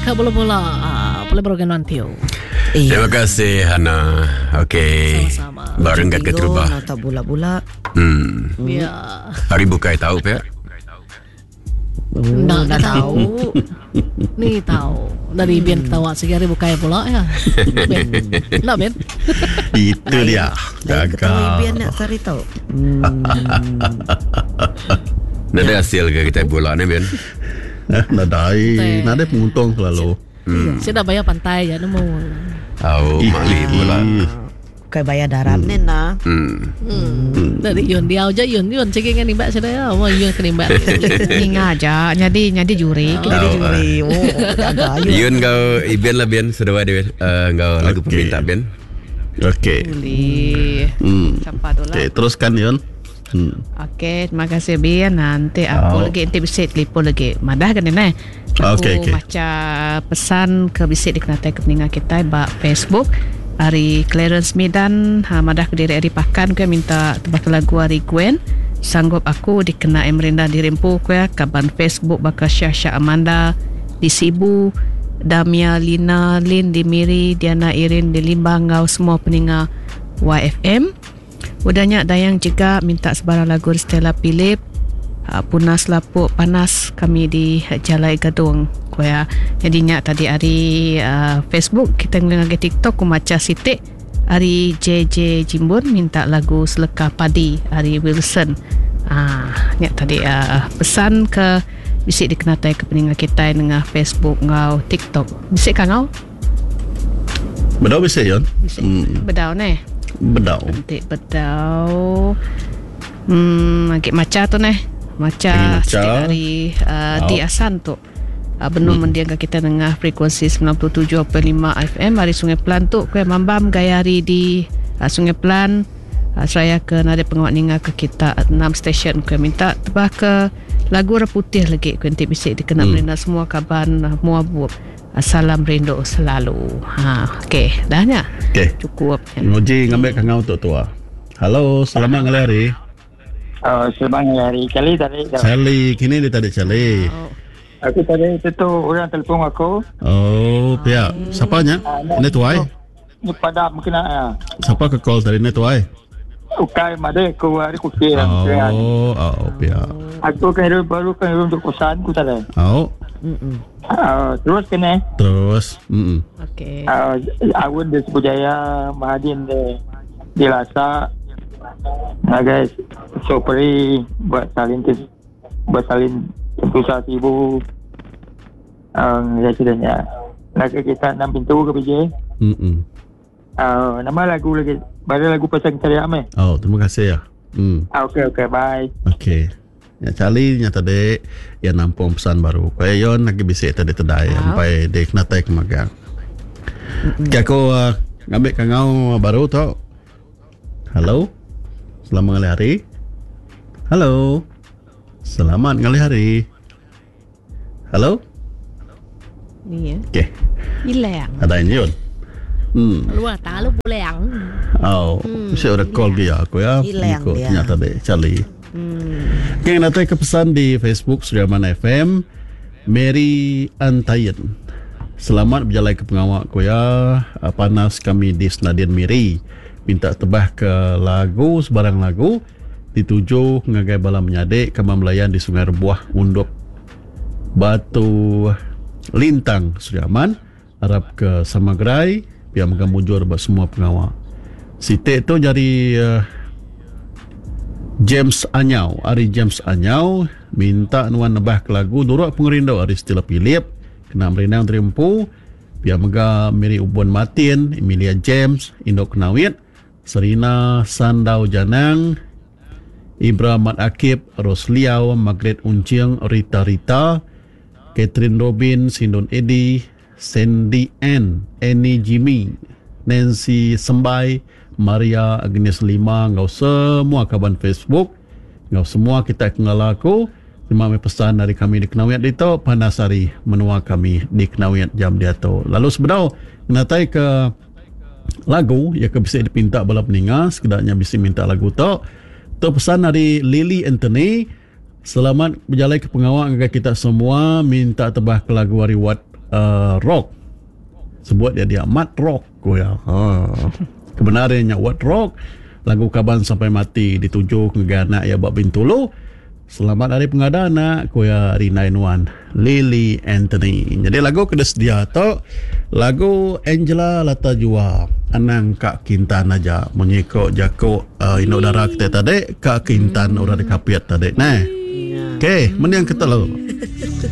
Ka bula-bula boleh berogan nanti. Terima kasih Hana. Okey. Sama-sama. Bareng kat keterubah. Nota bula-bula. Ya. Hari bukai tahu pe. Ndak dah tahu. Ni tahu. Dari Ben ketawa segi hari bukai pula ya. Ben. Ndak Ben. Itu dia. Lain ketawa Gagal. Ibian nak sehari tau. Nada hasil ke kita bola ni Ben. Eh, nadai, Betul. nadai penguntung selalu. Saya dah bayar pantai ya nemu. Au mali bola. Bukan bayar darat ni nah. Dari Yun dia aja Yun Yun cek dengan nimbat saya ya. Wah Yun ke nimbat. Ingat aja nyadi nyadi juri. Jadi Tahu, juri. Oh, jaga ayo. Yun kau Ibian lah Ben seduai dia. Uh, kau lagu Okey. peminta Ben. Okey. Boleh. Siapa tu lah. Okey, teruskan Yun. Okey, terima kasih Bin. Nanti aku Oh. lagi nanti bisa telefon lagi. Madah kan ni? Aku Okey, okey. baca pesan ke bisik di kenatai ke peningan kita bak Facebook. Hari Clarence Medan ha, madah ke diri hari pakan ke minta tebak lagu hari Gwen. Sanggup aku dikena Emrinda dirempu ke kaban Facebook bakal Syah Syah Amanda di Sibu Damia Lina Lin di Miri Diana Irin di Limbang ngau semua peninga YFM. Udahnya Dayang juga minta sebarang lagu Stella Philip Punas Lapuk Panas kami di Jalai Gadung Kuya. Jadi nyak tadi hari uh, Facebook kita ngelihat ke TikTok ku maca sitik hari JJ Jimbun minta lagu Seleka Padi hari Wilson. Ah, nyak tadi uh, pesan ke bisik dikenatai ke peningan kita dengan Facebook ngau TikTok. Bisik kan ngau? Bedau bisa Yun? Bisik. Bedau ne. Bedau. Nanti bedau. Agak maca tu neh. Maca Lagi maca. sikit hari uh, di Oh. Asan tu. Benung hmm. mendiang ke kita dengar frekuensi 97.5 FM hari Sungai Pelan tu kuih mambam gaya hari di Sungai Pelan. Saya ke nada pengawak ninga ke kita 6 stesen kuih minta tebah ke lagu orang putih lagi kuih nanti bisik dikena hmm. semua kaban muabup. Salam rindu selalu. Ha, okey, dah nya. Okey. Cukup. Nguji ngambil kangau tu tua. Halo, selamat ngalih hari. Oh, selamat hari kali tadi. Charlie, kini dia tadi Charlie. Oh. Aku tadi itu tu orang telefon aku. Oh, pihak. Siapanya? Ini tuai. Ni pada mungkin ah. Siapa ke call tadi ni tuai? Ukai made aku hari kuki lah. Oh, oh, pihak. Aku kan hidup baru kan hidup untuk kosan ku tadi. Oh, Ah, terus kena. terus. Mm. Okey. Ah, awun di Sebujaya, Mahadin di di Lasa. Nah guys, sopri buat salin buat salin tentu ibu. Um, ya sudahnya. Nak kita enam pintu ke PJ. Mm. Uh, nama lagu lagi. Baru lagu pasang cari ame. Oh, terima kasih ya. Ah, okey okey bye. Okey. Ya Charlie nya tadi ya nampung pesan baru. Kaya yon lagi bisik tadi tedai sampai dia kena tai kemagang. Okey aku ngambil kangau baru tu. Halo. Selamat ngalih hari. Halo. Selamat ngalih hari. Halo. Ni ya. Okey, Hilang. ada ini yon. Luar tak lu boleh ang. Oh, mesti ada call dia aku ya. Hilang Ikut dia. Ternyata deh, Charlie. Okay, nanti ke pesan di Facebook Sudirman FM, Mary Antayen. Selamat berjalan ke pengawak ku ya. Panas kami di Senadian Miri. Minta tebah ke lagu sebarang lagu dituju ngagai bala menyadik kembang melayan di Sungai Rebuah Undup Batu Lintang Sudirman harap ke Samagerai biar megang mujur buat semua pengawak. Sitik tu jadi James Anyau Ari James Anyau minta nuan nebah ke lagu Nuruk Pengerindu Ari Stella Philip kena merindang terimpu biar mega Mary Ubun Martin Emilia James Indok Kenawit Serina Sandau Janang Ibra Mat Akib Ros Liau Margaret Uncing Rita Rita Catherine Robin Sindon Eddy Sandy N Annie Jimmy Nancy Sembai Maria Agnes Lima ngau semua kawan Facebook ngau semua kita kenal aku terima kasih pesan dari kami di Kenawiat dito Panasari menua kami di Kenawiat jam dia tu lalu sebenar natai ke lagu yang ke bisa dipinta bala peninga sekedarnya bisa minta lagu tu tu pesan dari Lily Anthony selamat berjalan ke pengawak kepada kita semua minta tebah ke lagu hari Wat uh, Rock. Sebut iya dia Mat Rock ku iya. Ha. Kebenar iya nya Wat Rock. Lagu Kaban Sampai Mati dituju ngagai anak iya ba Bintulu. Selamat Hari Pengada anak, ku iya rindai nuan Lily Anthony. Nyadi lagu ke disedia tu lagu Angela Lata Jua Anang Ka Kintan aja munyi ko jaku uh, indu dara kita tadi ka kintan orang dikapit tadi neh. Okey, mending kita lalu.